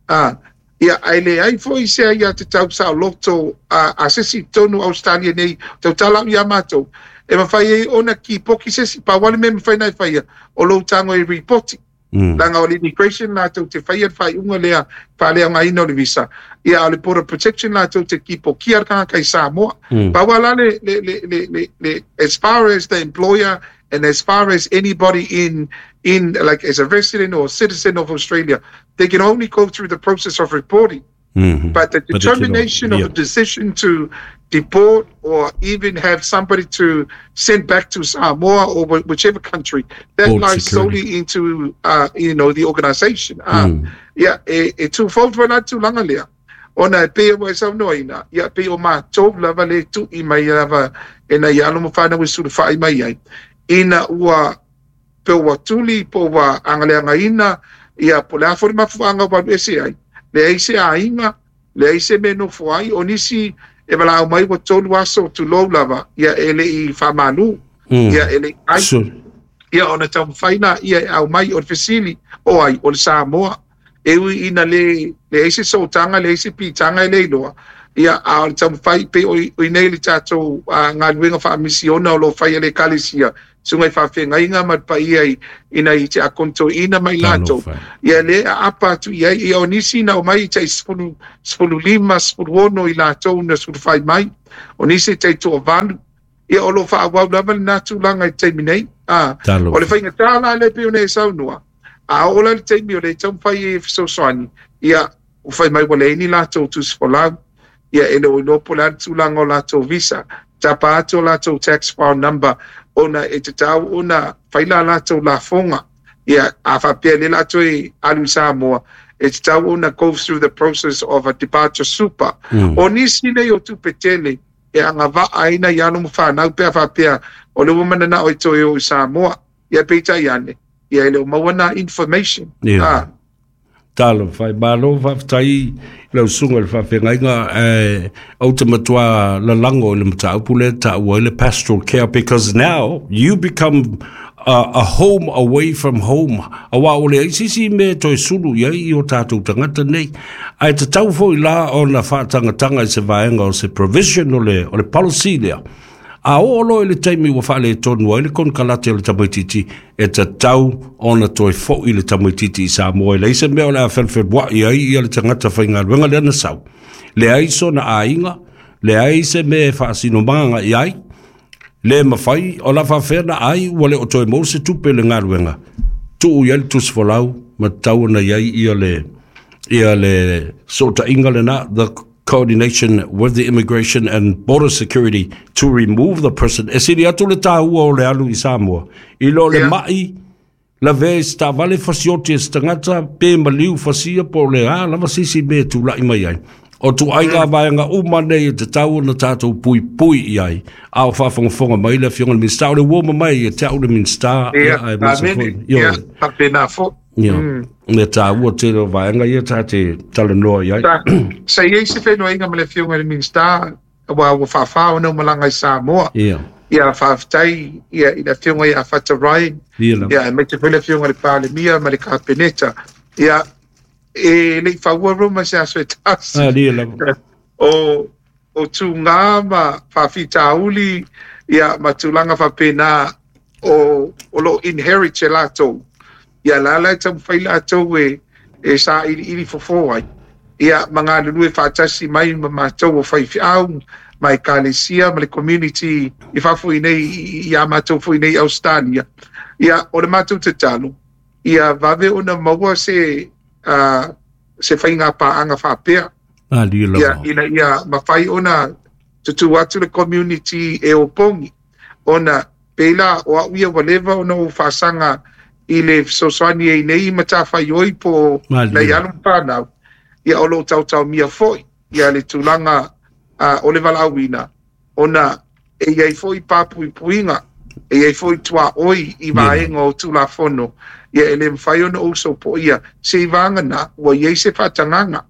A, ia, ae leai foi se aia te tau saoloto a, a se isi i totonu o Ausetalia nei, tautala au ia matou, e mafai ai ona kipoki se isi, pau lava le mea e mafai ona e faia, o lou tago e ripoti. Leaga o le immigration latou te faia le faaiuga lea, faaleaogaina o le visa, ia a o le border protection latou te kipokia le tagata i Samoa. Pau lava la le, le, le, le, le, le, as far as the employer and as far as anybody in, in, like as a resident or citizen of Australia, they can only go through the process of reporting. But the determination of a decision to deport or even have somebody to send back to Samoa or whichever country, that Board lies security. solely into, you know, the organisation. Ia, e twofold foi la tulaga lea. Ona e pei ua e saunoaina, ia pei o matou lava le tui mai lava e nai alo ma fanau e sulufai mai ai, ina ua pe ua tuli, po ua agaleagaina, ia po o le a foi le mafuaaga ua alu ese ai, leai se aiga, leai se mea e nofo ai, o nisi e valaau mai ua 3 aso tulou lava, ia e le i faamalu, ia e le i ai. Ia ona taumafai lea e aumai o le fesili, o ai, o le Samoa. E ui ina le leai se sootaga, leai se pitaga e le iloa, Ia, a o le taumafai pei o i inei le tatou galuega faamisiona o lo o faia e le Ekalesia, susuga i faafeagaiga ma le paia i i nai tiakono toeaina ma i latou, ia lea e aapa atu i ai. Ia o nisi na omai tai 10, 15, 16 i latou na sulufai mai, o nisi e tai toavalu. Ia o lo o faaauau lava lena tulaga i le taimi nei. A, o le faigata la lea pei ona e saunoa, a oo la i le taimi o lea e taumafai e fesoasoani, ia ua fai mai ua leai ni latou tusi folau, ia e le o iloa po o le a le tulaga o latou visa, tapa atu o latou tax file number ona e tatau ona fai la latou lafoga. Ia a faapea lea o le a toe alu i Samoa, e tatau ona go through the process of a departure super. O nisi nei o tupe tele e agavaa ai nai alo ma fanau pe a faapea o lea ua mananao e toe o i Samoa. Ia peitai ane, ia e le o maua nā information. Ia. Ah. Talofa e, malo faafetai i lau susuga i le faafeagaiga, ae ou te matua lalago i le mataupu lea e taua ai le pastoral care because now you become a, a home away from home. Aua ua leai se isi mea e toe sulu i ai i o tātou tagata nei. Ae tatau foi la ona faatagatanga i se vaega o se provision o le, o le policy lea. A oo loa i le taimi ua faaletonu ai le konekarate o le tamaitiiti, e tatau ona toe foi le tamaitiiti i Samoa. E leai se mea o le a felufelua'i ai ia le tagata faigaluega lea na sau. Leai sona aiga, leai se mea e faasinomaga i ai, le mafai o la faafefea ona ai ua le o toe maua se tupe i le galuega, tuu i ai le tusi folau ma tatau ona i ai ia le, ia le sootaiga lena, the coordination with the Immigration and Border Security to remove the person. E sili atu le tāua o le alu i Samoa. I lo le yeah. mai, lavea i se taavale fasioti e se tagata, pe maliu fasia po o le a lava se isi mea e tulai mai ai. O tuaiga mm. vaega uma nei e tatau ona tatou puipui i ai. A o faafogafoga mai le Afioga i le Minisita, o le uoma mai ia te au le Minisita. Ia, aemaise foi. Ia, faapena foi. Ia, mm. le tāua tele o vaega ia tā te talanoa i ai. Sa i ai se whenua ma le Afioga i le Minisita, ua ua whawhā ona malaga i Samoa. Ia. Ia faafetai ia i le Afioga ia Fata Ryan. Ia, ia aemaise foi le Afioga i le Palemia ma le Kapeneta. Ia e le i faua Roma se aso e tasi. Ah, ia lava. O o tūgā ma faafitauli ia ma tulaga faapena o o lo o inherit e latou. Ia la la e taumafai latou e e sailiili fofo ai ia ma galulue faatasi mai ma matou o faifeau ma ekalesia ma le community i fafo i nei i a matou foi nei i Ausetalia. Ia o le matou tatalo ia vave ona maua se uh, se faiga paaga faapea. Malie lava. Ia, ina ia mafai ona tutū atu le community e opogi ona pei la o au ia ua leva ona ou faasaga i le fesoasoani ai nei matafaioi po o nai alo ma fanau, ia o lo o taotaomia foi ia le tulaga o le valaauina ona e i ai foi papuipuiga, e i ai foi tuaoi i vaega o Tulafono, ia e le mafai ona ou sopoia seivaga ua i ai se faatagaga.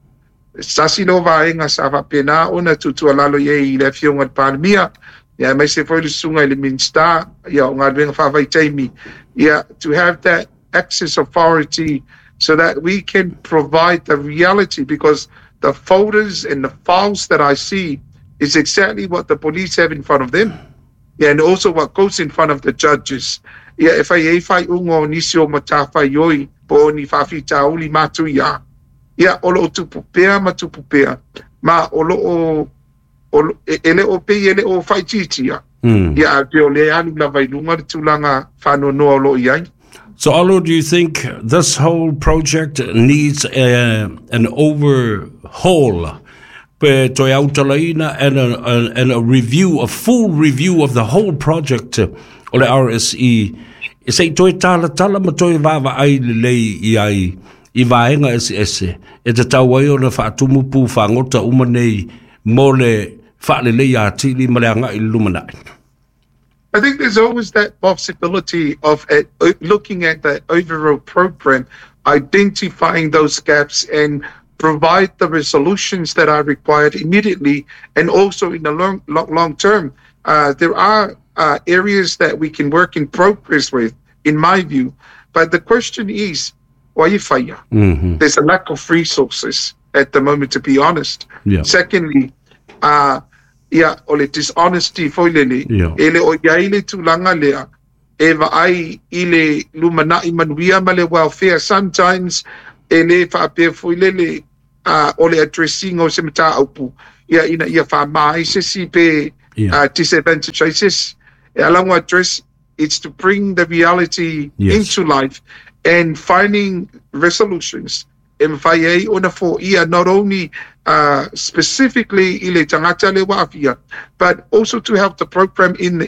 Se tasi lea o vaega sa faapena ona tuutuualalo i ai i le Afioga i le Palemia, ia aemaise foi le susuga i le Minisita ia o Galuega Faavaitaimi, ia to have that access authority so that we can provide the reality because the folders and the files that I see is exactly what the police have in front of them. Yeah, and also what goes in front of the judges. Ia e fai ai faaiuga o nisi o matafaioi po o ni faafitauli matuia. Ia, o lo o tupu pea ma tupu pea, ma o lo o, o e, e le o pei e le o faaitiitia. Mm. Ia, ae pei o lea e alu lava i luga le tulaga faanoanoa o lo o i ai. So, Alo, do you think this whole project needs a, an overhaul? Pe toe autalaina and a, a, and a review, a full review of the whole project o le RSE. E se i toe talatala ma toe vaavaai lelei i ai i vaega eseese e tatau ai ona faatumu pu fagota uma nei mo le faaleleia atili ma le agai i le lumanai. I think there's always that possibility of looking at the overall program, identifying those gaps and provide the resolutions that are required immediately and also in the long, long, long term. There are areas that we can work in progress with, in my view. But the question is, why you fire? There's a lack of resources at the moment, to be honest. Yeah. Secondly, Ia, o le dishonesty foi lele, e le o i ai le tulaga lea e vaai i le lumanai manuia ma le welfare. Sometimes e le faapea foi lele o le addressing o se mataupu ia ina ia faamā ai se isi pe disadvantage ai se isi. E ala ona address, it's to bring the reality into life and finding resolutions e mafai ai ona foia not only specifically i le tagata lea ua aafia, but also to help the program in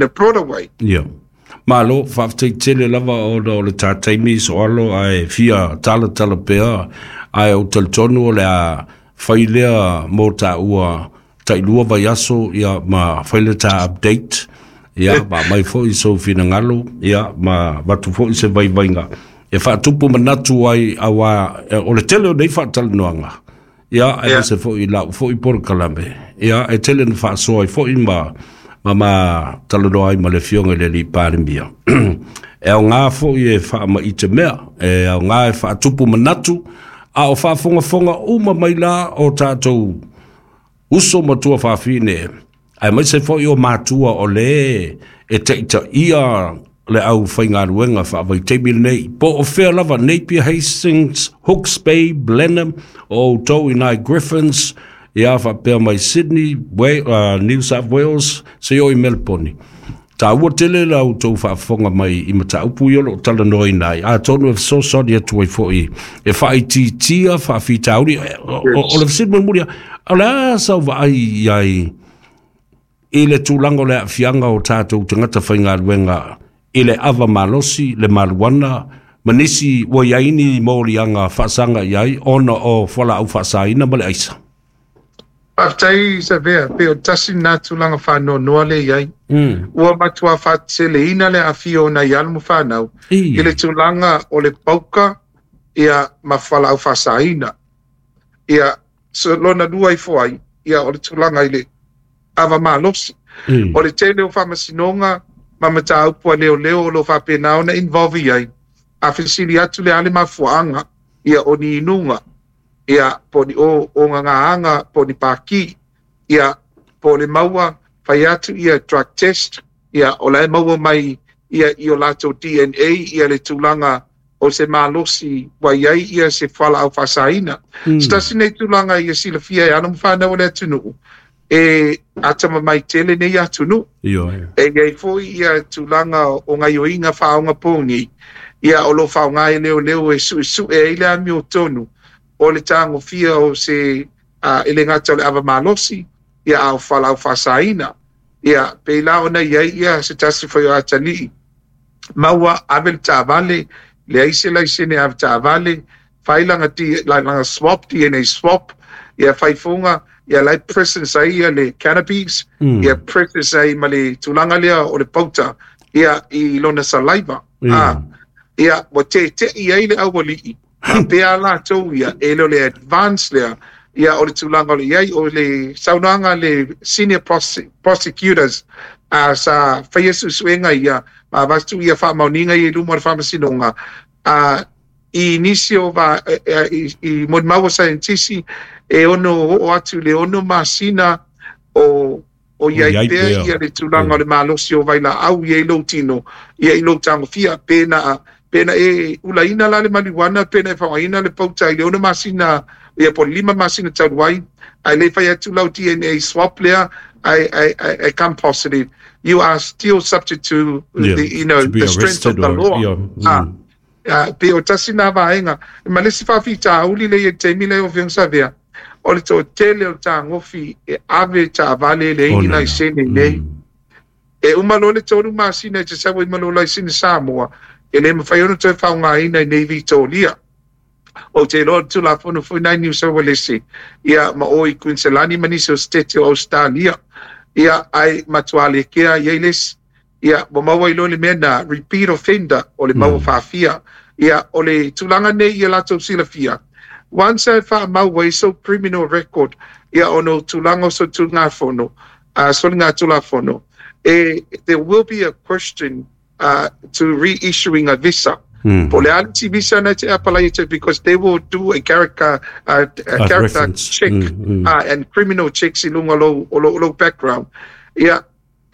a broader way. Ia. Malo, faafetai tele lava ona o le ta taimi soalo ae fia talatala pea, ae ou talitonu o le a fai lea mo taua tailua vaiaso, ia, ma fai le ta update, ia, ma aumai foi sou finagalo, ia, ma avatu foi se vaivaiga e faatupu manatu ai, auā o le tele o nei faatalanoaga, ia, aemaise foi i lau foi polokalame, ia, e tele na faasoa ai foi ma talanoa ai ma le Afioga i le Alii Palemia. E aoga foi e faamaite mea, e aoga e faatupu manatu, a o faafogafoga uma mai la o tatou uso ma tuafafine, aemaise foi o matua o le e taitaia le aufaigaluega faavaitaimi lenei, po o fea lava, Napier, Hastings, Hooks Bay, Blenheim, o outou i nai Griffins, ia faapea mai Sydney, New South Wales, seia oo i Melbourne. Taua tele la outou faafofoga mai i mataupu ia o lo o talanoaina ai, atonu e fesoasoani atu ai foi e faaitiitia faafitauli. O le fesili mulimuli lava, o le a sau vaai i ai i le tulaga o le aafiaga o tatou tagata faigaluega i le ava malosi, le maluana, ma nisi ua i ai ni moliaga faasaga i ai ona o fualaau faasaina ma le aisa? Faafetai Savea, pei o tasi lena tulaga faanoanoa lea i ai. Ua matua faateleina le aafia o nai alo ma fanau i le tulaga o le pauka ia ma fualaau faasaina. Ia, so lona lua ifo ai, ia o le tulaga i le ava malosi. O le tele o faamasinoga ma mataupu a leoleo o lo o faapena ona involve i ai, a fesili atu le a le mafuaaga, ia o ni inuga, ia po o ni ogagaaga, po o ni paki, ia po o le maua fai atu ia drug test, ia o la e maua mai ia i o latou DNA ia le tulaga o se malosi ua i ai ia se fualaau faasaina. Se tasi nei tulaga ia silafia e alo ma fanau o le atunuu, e atamamai tele nei atunuu. E i ai foi ia tulaga o gaioiga faaogapogi, ia o lo o faaaoga e leoleo e suesue ai le amiotonu o le tagofia o se e le gata o le ava malosi, ia a o fualaau faasaina. Ia pei la ona i ai ia se tasi foi o atalii maua ave le taavale, leai se laisene ave taavale, fai lana swab, DNA swab, ia fai fuga, ia la e presence ai ia le cannabis, ia presence ai ma le tulaga lea o le pauta, ia i lona saliva. Ia ua tete'i ai le aualii, faapea latou ia, e le o le advance lea, ia o le tulaga o le i ai, o le saunoaga a le senior prosecutors sa faia suesuega ia, ma avatu ia faamaoniga ia i luma o le faamasinoga, i nisi o i molimau a saienitisi e ono oo atu i le 6 masina o i ai pea ia le tulaga o le malosi o vailaau i ai lou tino, ia i lou tagofia, pena e ulaina la le marijuana, pena e faaaogaina le pauta i le 6 masina, ia po o le 5 masina talu ai, ae le fai atu lau DNA swab lea, I come positive. You are still subject to the, you know, to be the strength of arrested the or, law. Pe o tasi nā vaega. Ma le isi faafitauli lea i le taimi lea o Afioga Savea, o le toatele o le tagofi e ave taavale e leai ni laisene nei. E uma loa le 3 masina e te sau ai ma lou laisene Samoa, e le mafai ona toe faaaogaina i nei Vitoria. Ou te iloa o le Tulafono foi nai New South Wales, ia ma o i Queensland ma nisi o state o Australia. Ia, ai matua lekea i ai le isi. Ia, ua maua ai loa le mea na repeat offender o le maua faafia. Ia, o le tulaga nei ia latou silafia, once e faamau ai sou criminal record, ia ona o tulaga o solitulafono, soligatulafono, e, there will be a question to reissuing a visa. Po o le a le isi visa na e te apalai atu ai because they will do a character, a character check and criminal checks i luga o lou, o lou, o lou background. Ia,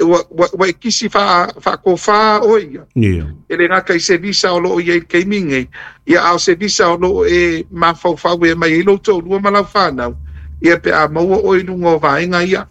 ua, ua, ua e kisi faa, faakofā oe ia. E le gata i se visa o lo o i ai i le taimi lenei, ia a o se visa o lo o e mafaufau e aumai ai lou toalua ma lau fanau, ia pe a maua oe i luga o vaega ia.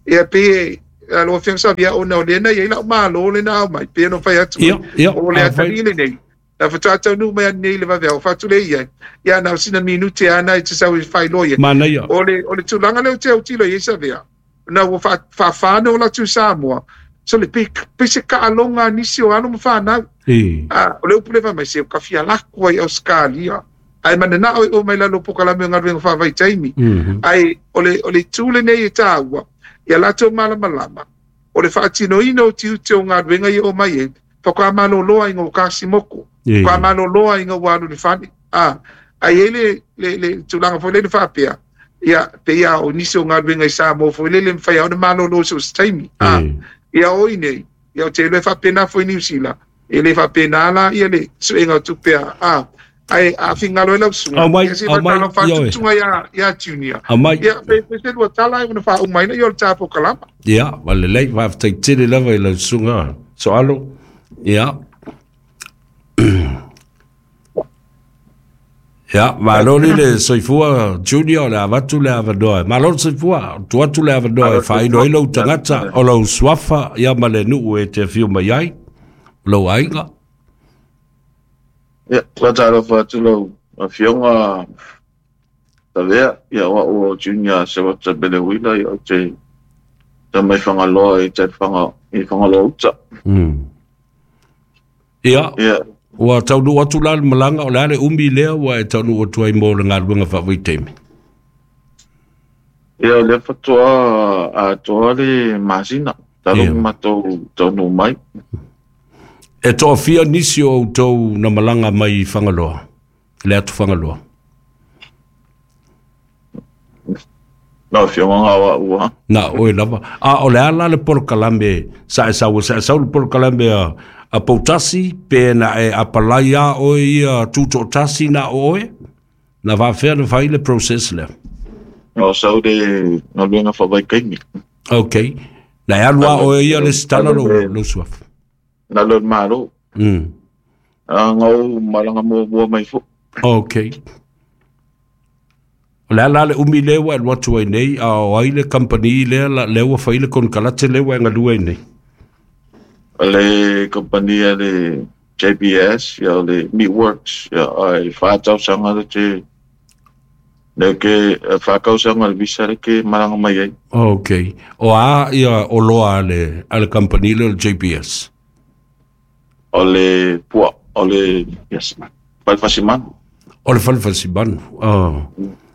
Ia pei e, lau Afioga Savia, ona o lea na i ai lau Malo lea na aumai, pei ona fai atu ai, o le atalii lenei, na faatoa taunuu mai ananei i le vaveao, fai atu lea i ai, ia na o sina minute lava na e te sau e faailoa i ai. Manaia. O le tulaga lea ou te autilo i ai Savea, na ua faafa ona ola atu i Samoa, sole, pei, pei se taaloga a nisi o alo ma fanau. O le upu lea fai mai, se ua ta fia alu atu ai i Ausetalia, ae mananao e oo mai lalo o polokalame o galuega faavaitaimi. Ae o le itu lenei e taua, ia latou malamalama, o le faatinoina o tiute o galuega ia e oo mai ai, faatoa malolo ai ina ua tasi motu, faatoa malolo ai ina ua alu i le fale. Ae i ai le tulaga foi lele faapea, ia, pei lava o nisi o galuega i Samoa foi lele e mafai lava ona malolo i so o se taimi. Ia o i nei, ia ou te iloa e faapena foi i Niu Sila, e le faapena la ia le suega o tupe a, ae a finagalo ai lau susuga, Aumai, ia se i aumai, faatalofa atu ioe. susuga ia Junior. Aumai. Ia, pe se lua tala ona faauma ai lea o le ta polokalama. Ia, ua lelei, faafetai tele lava i lau susuga Soalo. Ia. Ia, malo le le soifua Junior, o le avatu le avanoa. Malo le soifua, tuu atu le avanoa e faailo ai lou tagata o lou suafa, ia ma le nuu e te afio mai ai, lou aiga. Ia, faatalofa atu lau Afioga Savea, ia o au o Junior Sewata Belewila, ia ou te tama i Fagaloa i tai Faga, i Fagaloa uta. Ia, Ia, ua taunuu atu la le malaga, o le a le umi lea ua e taunuu atu ai mo le galuega faavaitaimi? Ia o lea faatoa atoa le masina, talu Ia. matou taunuu mai. E toafia nisi o outou na malaga mai i Fagaloa, le atu Fagaloa? Lau Afioga nga o au lava. Na oe lava. A o le a la le polokalame sa e sau ai? Sa e sau i le polokalame a Poutasi pe na e apalai a oe ia tutoatasi na o oe? Na faafefea na fai le process lea? Na o sau le galuega faavaitaimi. Okay. Na e alu a oe ia lesitala lou suafa? Na alu e le Malo. A na ou malaga muamua mai foi. Okay. O le a la le umi lea ua e alu atu ai nei, a o ai le kamupani lea, lea ua fai le konekarate lea ua e galue ai nei? O le kamupani a le JBS, ia o le Meatworks, ia ai 4 tausaga le te le ke 4 tausaga le visa le ke malaga mai ai. Okay. O a ia oloa a le kamupani lea o le JBS? O le pua, o le yes, falefasi manu. O le falefasi manu. Oh.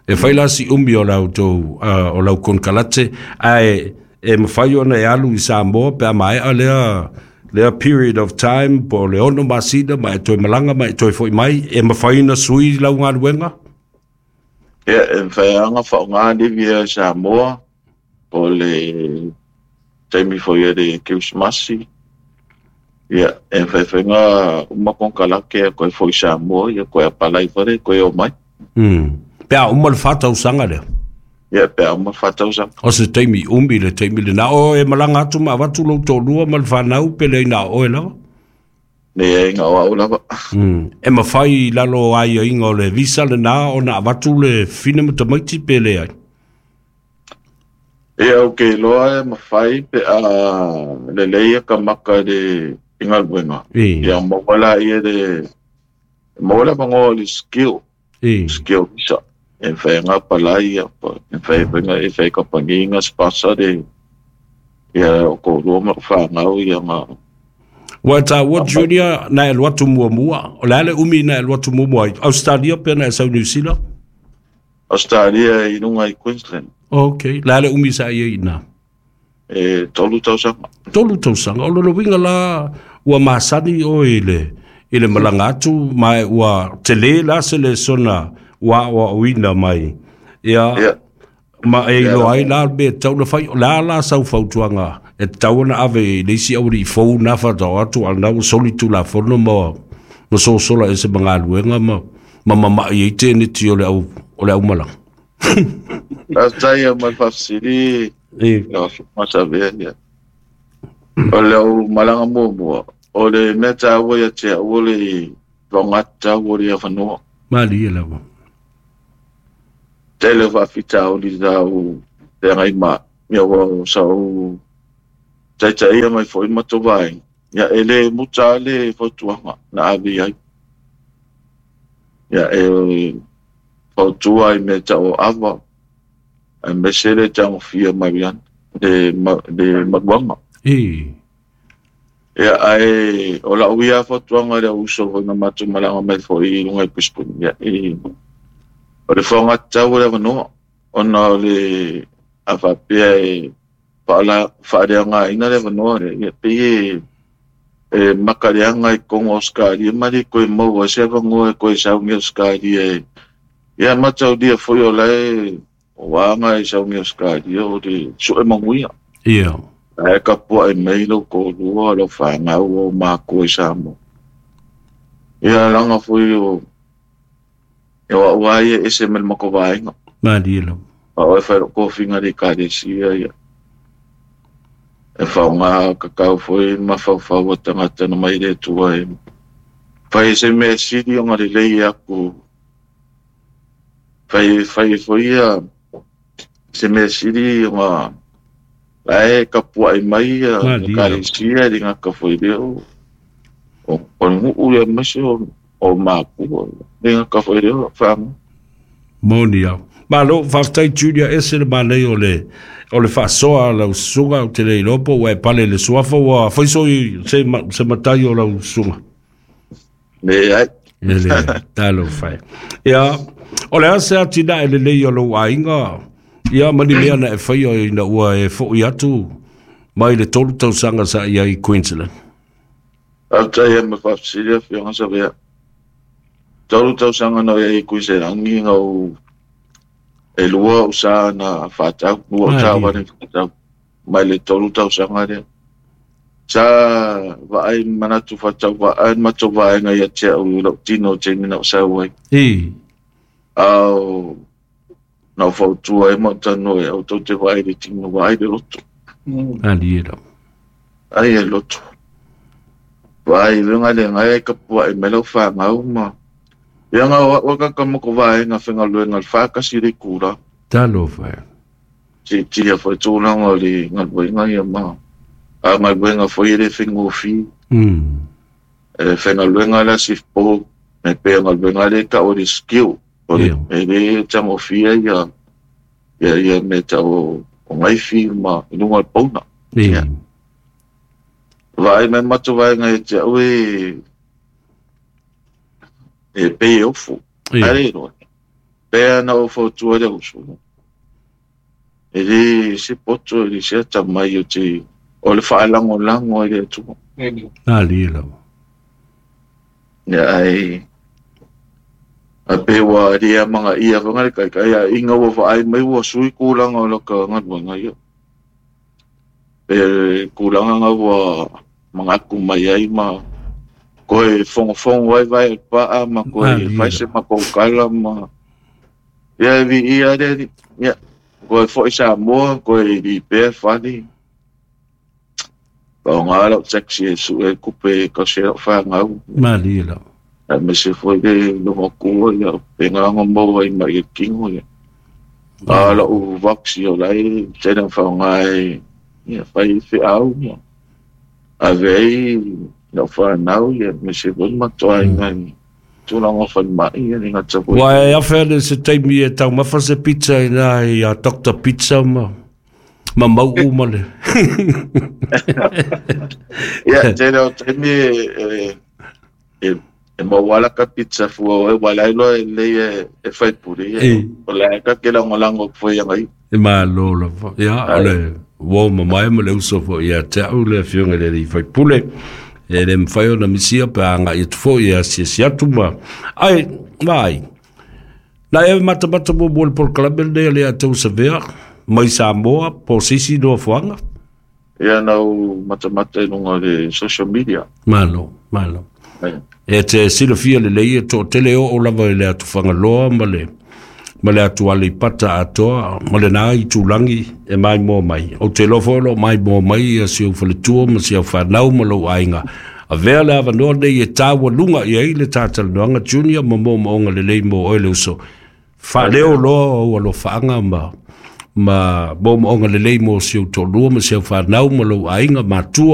E fai la si umi o lau tou, o lau konekarate, ae e mafai ona e alu i Samoa pe a maea lea period of time po o le 6 masina ma e toe malaga ma e toe foi mai, e mafai ona sui lau galuega? Ia, e mafai lava ona faaaoga livi i Samoa, po o le taimi foi o le Kerisimasi. Ia, e mafai foi ona uma konekarate ia toe foi i Samoa, ia toe apalai foi lea toe omai. Pe a uma le 4 tausaga lea? Ia, pe a uma le 4 tausaga. O se taimi umi le taimi lena. O e malaga atu ma avatu lou toalua ma le fanau pe leai na o oe lava? Leai, na o au lava. E mafai i lalo o aiaiga o le visa lena ona avatu le fafine ma tamaiti pe leai? Ia, ou te iloa e mafai pe a lelei ia ka maka i le i galuega. Ia maua laia le maua le avanoa o le skill, skill visa. E mafai ona apalai ia, e mafai foi ona e fai e kamupani ona sponsor le ia o toalua ma lou fanau ia na Ua e taua Junior na e alu atu muamua. O le a le umi na e alu atu muamua ai? Australia pe na e sau New Zealand? Australia i luga i Queensland. Okay. Le a le umi sa i ai i ina? E 3 tausaga. 3 tausaga. O lona uiga la ua masani oe i le malaga atu ma ua tele la se lesona ua aoaoina mai. Ia, ma e iloa ai la le mea e tatau ona fai. O le a la sau fautuaga e tatau ona ave i le isi aualii fou na faatoa atu a o lena ua soli Tulafono ma ma sosola e se magaluega ma mamama'i ai teneti o le au o le aumalaga. Faafetai mo le faafesili lau Afioga Savea. Ia. O le au malaga muamua, o le mea taua ia te au o le faaaogatatau o le avanoa. Malie lava. Tele o faafitauli sa ou feagai ma ia ua sa ou taitaia mai foi ma matou vaega. Ia e le muta le fautuaga na ave i ai. Ia e fautua i mea tau o ava, aemaise le tagofia mariana, le maluaga. Ia ae o lau ia fautuaga i le uso foi na matou malaga mai foi i luga i Brisbane. Ia o le faaaogatatau o le avanoa, ona o le a faapea e faaleaogaina le avanoa lea, ia pei e makaleaga i totonu o Ausetalia ma le toe maua ai se avanoa e toe sauni Ausetalia e ia mataulia foi o lae o aga e sauni Ausetalia o le sue manuia. Ia. Ae tapuai mai lau toalua, lau fanau o matua i Samoa. Ia laga foi o e o au ai e ese mai le matou vaega. Malie lava. A o e fai lou tofiga i le ekalesia ia. E faaaoga tatau foi ma faufau a tagata na mai le Atua e fai se mea sili ona lelei atu. Fai fai foi ia se mea sili ona lae tapuai mai ia Malie lava. ekalesia e le gata foi lea o o le nuu ia aemaise o matua le gata foi lea o faga. Moni au. Malo, faafetai Julia ese le manaia o le faasoa a lau susuga, ou te le iloa po ua e pale i le suafa ua fai soi se matai o lau susuga. Leai. E le talofa e. Ia, o le a se atinae lelei o lou aiga, ia ma ni mea na e faia ina ua e fo'i atu mai le 3 tausaga sa i ai i Queensland. Faafetai mo le faafesili Afioga Savea. 3 tausaga na i ai i Queensland na ou e lua ou sa na faatau, lua ou sa vale faatau mai le 3 tausaga lea. Sa vaai manatu faatau vaai matou vaega ia te au i lou tino taimi na ou sau ai. Au na ou fautua ai ma ou talanoa ai, au tou te vaai i le tino, vaai le loto. Malie lava. Ai e loto. Vaai i luga le ngai ai tapuai mai lau fanau ma ia nga o au ka moko vaega faigaluega le 4.1 le itula. Talofa e. Siitia foi tulaga o le galuega ia ma a galuega foi e le faigofie. E faigaluega la sifpo me pe galuega le tau o le skill o le e le tagofia ia ia ia me tau o ngaifi ma i luga o le pauna. Ia. Vaai mai matou vaega ia te au e pei e ofu. Ae le iloa. Pea na ou fautua le uso. E le se poto e le se atamai o te o le faalagolago ai le Atua. Malie lava. Ia ai a pe ua le amagaia foi le taitai a inga ua vaai mai ua sui tulaga o laka galuega ia. Pe tulaga nga ua manatu mai ai ma koe fogofogo ai vai paa ma koe fai se matou kala ma ia vi ia le ia koe foi Samoa koe lipea fale. Faaaoga lau taxi e sue kupe kausi ai lau fanau. Malie lava. Aemaise foi le logotua ia pe gaga maua ai mai le tino ia. A lau vox o lai tele na faaaoga e ia fai feau ia. Ave ai lau fanau ia aemaise foi le matou aiga i tulaga o falemai ia le gata foi. Ua e afe ane se taimi e taumafa se pizza i na i a Dr. Pizza ma mau'u ma le. Ia, tele o taimi e maua ala ka pizza fua o e wala iloa e lei e faipule ia. O le ka ke lagolago foi ia ngai. E malo lava. Ia, o le uo mamae ma le uso foi ia te au le afioga i le alii faipule. E le mafai ona misia pe a agai atu foi e asiasi atu ma. Ai, vaai. Na e matamata muamua i le polokalame lenei a le ia tou Savea mai Samoa po o se isi nofoaga. Ia na ou matamata i luga o le social media. Malo, malo. E te silafia lelei e to'atele oo lava i le atu Fagaloa ma le atu Aleipata atoa ma lenā itulagi e maimoa mai. Ou te iloa foi o loo maimoa mai ia si ou faletua ma si au fanau ma lou aiga. Avea le avanoa nei e taualuga i ai le tatalanoaga Junior ma moomooga lelei mo oe le uso. Faaleo loa ou alofaaga ma moomooga lelei mo si ou toalua ma si au fanau ma lou aiga matua.